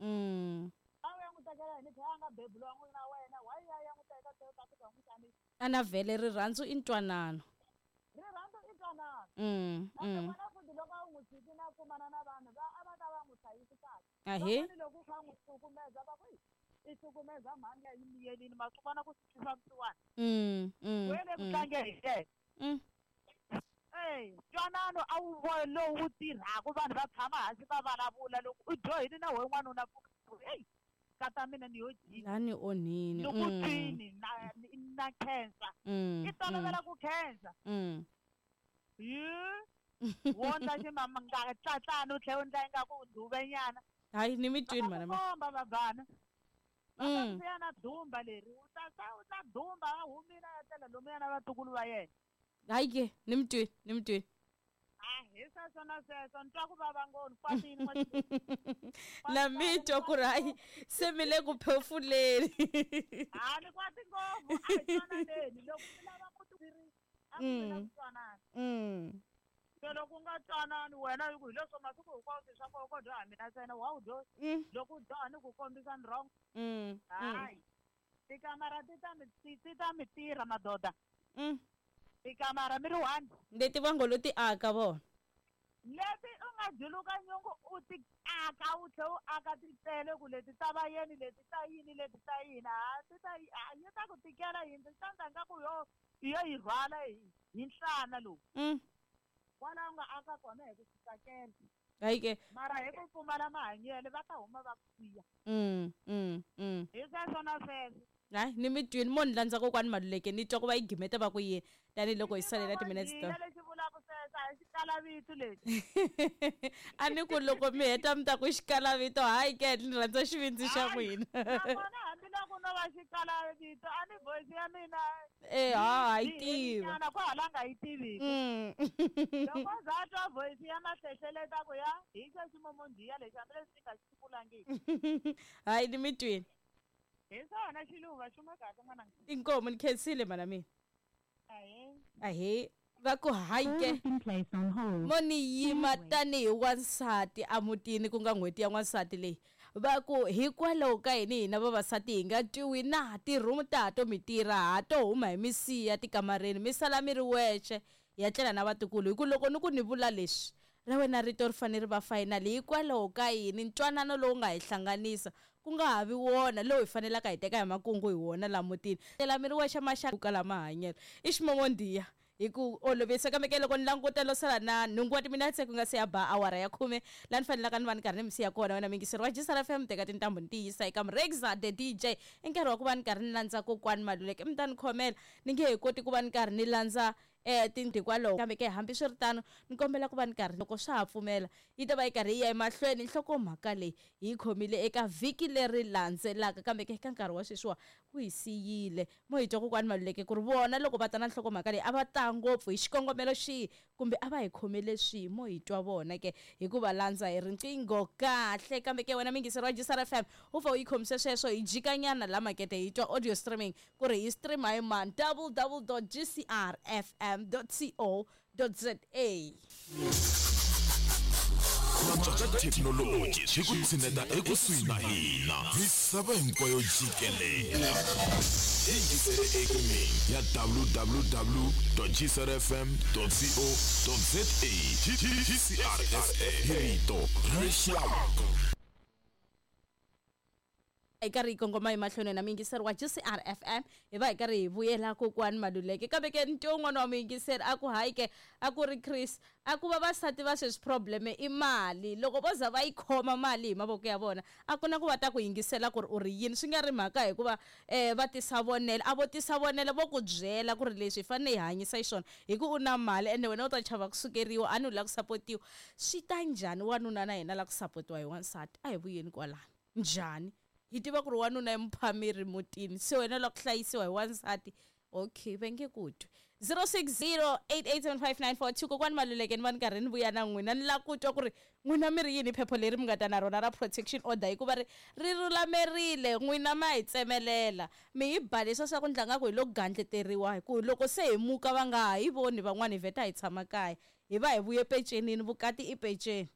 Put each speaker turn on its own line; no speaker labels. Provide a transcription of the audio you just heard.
A wu ya n'wi tekela yini phela a nga beburiwa n'wina wena why ya ya n'wi teka South Africa u n'wi xanisa.
A na vhele rirhandzu i ntwanano.
Rirhandzu i ntwanano. Ende n'wana futhi loko a wu n'wi tshikini a kumana na vanhu va a va ta va n'wi hlayisi kahle.
Ahee.
Van'wani loko u kha u n'wi hlukumeza va ku i hlukumeza mhani ya yi miyelini ma swi vona ku swi twisa vusiwana. We le ku tlangeni hi yena. Eya, ntwanano a wu vo lowu wu tirhaka vanhu va tshama hansi va vulavula loko u dyohile na wehe n'wanuna ku heyi nkata mina ni yo jika
La ni onhini.
Ni ku twini na na khensa i tolovela ku khensa hi wo ndla ximama nga tlatlani u tlhela u ndla ingaku u duvenyana.
Hayi ni mi
Va
twini
ta
mhana
ku
mina.
komba vabvana va ta ku siya na dumba leri u ta ta u ta dumba a humile a ya tlela lomuya na vatukulu va yena.
Hayi ke ni mi twini ni mi twini.
A hi sweswo na sweswo ni twa ku vava ngopfu ni kwatile n'waxinuna.
Na mi twa ku ri hayi se mi le ku phefuleni.
Ha ni kwati ngopfu a hi twananeni loko mi lava ku tirhisa a ku mi na ku twanana. Se loko u nga twanani wena hi ku hi leswo masiku hinkwawo swilo swa koho ko dyoha mina ntsena wa wu dyohi loko u dyoha ni ku kombisa ni wrong. Hayi tikamara ti ta mi ti ta mi tirha madoda. Tikamara mi ri one.
Leti va ngo lo ti aka vona.
Leti u nga juluka nyungu u ti aka u tlhe u aka ti tele ku leti ta vayeni leti ta yini leti ta yini ha ti ta ha yi ta ku tikela yindlu swi ta ndla nga ku yo yo yi rhwala hi hi nhlana lowu. Kwala u nga aka kona hi ku swi tsakela.
Hayi ke.
Mara hi ku pfumala mahanyelo va ta huma va ku siya. Hi sweswo na sweswo.
Hayi ni mi twini mo ni landza kokwani Maluleke ni twa ku va yi gimeta va ku yini tanihiloko hi salela timinetse to.
Lexi vulaka sweswo a hi xikalavito lexi.
A ni ku loko mi heta mi ta ku xikalavito hayi ke ni rhandza xivindzi xa n'wina.
Nakona hambiloko no va xikalavito a ni voice ya mina.
Eh ha yi tiva.
Nyana ku hala nga yi tiviki. Loko za twa voice ya mahlehleleta ku ya hi xo ximomondiya lexi hambileswi xi nga xi kulangiki.
Hayi ni mi twini.
Hi swona xiluva xuma kahle n'wananga.
Inkomu ni khensile mhana mina.
Ahee.
Ahee va ku hayi ke mo ni yima tanihi wansati emutini ku nga n'hweti ya n'wansati leyi va ku hikwalaho ka yini hina vavasati hi nga twiwi na ti-room ta ha to mi tirha ha to huma hi mi siya tikamareni mi sala mi ri wexe ya tlela na vatukulu hi ku loko ni ku ni vula leswi ra wena rito ri fanele ri va final hikwalaho ka yini ntwanano lowu nga hi hlanganisa ku nga ha vi wona lowu hi fanelaka hi teka hi makungu hi wona la mutini tlela mi ri wexe maxaka kala mahanyelo i ximomondiya hi ku olovisa kambe ke loko ni languta lo sala na nhungu wa timinetse ku nga se ya ba awara ya khume laha ni fanelaka ni va ni karhi ni mi siya kona wena muyingiseri wa Jisara FM teka tintambu ni ti yisa eka Mrexa the DJ i nkarhi wa ku va ni karhi ni landza kokwani Maluleke mi ta ni khomela ni nge he koti ku va ni karhi ni landza tindhikwalaho kambe ke hambiswiritano ni kombela ku va ni karhi loko swa ha pfumela yi ta va yi karhi yi ya emahlweni nhlokomhaka leyi hi yi khomile eka vhiki leri landzelaka kambe ke eka nkarhi wa sweswiwa wu hi siyile mo hi twa kokwani Maluleke ku ri vona loko va ta na nhlokomhaka leyi a va ta ngopfu hi xikongomelo xihi kumbe a va hi khomele swihi mo hi twa vona ke hi ku va landza hi riqingho kahle kambe ke wena muyingiseri wa Jisara FM u pfa u yi khomise sweswo hi jikanyana la makete hi twa audio streaming ku ri hi stream hi mani www.gcrfm.co.za.
Ku antswa ka thekinoloji swi ku tshineta ekusuhi na hina misava hinkwayo jikelele. Yingisele ekumeni ya www.gcrfm.co.za. GCRFM hi rito ra rixaka.
Hi karhi hi kongoma emahlweni na muyingiseri wa GCRFM hi va hi karhi hi vuyela kokwani Maluleke kambe ke ntiwo wun'wana wa muyingiseri a ku hayi ke a ku ri Chris a ku vavasati va sweswi problem i mali loko vo za va yi khoma mali hi mavoko ya vona a ku na ku va ta ku yingisela ku ri u ri yini swi nga ri mhaka hikuva va tisa vonelo a vo tisa vonelo vo ku byela ku ri leswi hi fanele hi hanyisa xiswona hi ku u na mali ende wena u ta chava ku sukeriwa a ni u lava ku sapotiwa swi ta njhani wanuna na yena la ku sapotiwa hi wansati a hi vuyeni kwalano njhani hi tiva ku ri wanuna i muphameri mutini se wena la ku hlayisiwa hi wansati okay va nge ku twi 0608875942 kokwani Maluleke ni va ni karhi ni vuya na n'wina ni lava ku twa ku ri n'wina mi ri yini phepha leri mi nga ta na rona ra protection order hikuva ri ri lulamerile n'wina ma hi tsemelela mi hi ba leswa swa ku ndla nga ku hi lo gandleteriwa hi ku loko se hi muka va nga ha hi voni van'wana hi vheta hi tshama kaya hi va hi vuye pecenini vukati i peceni.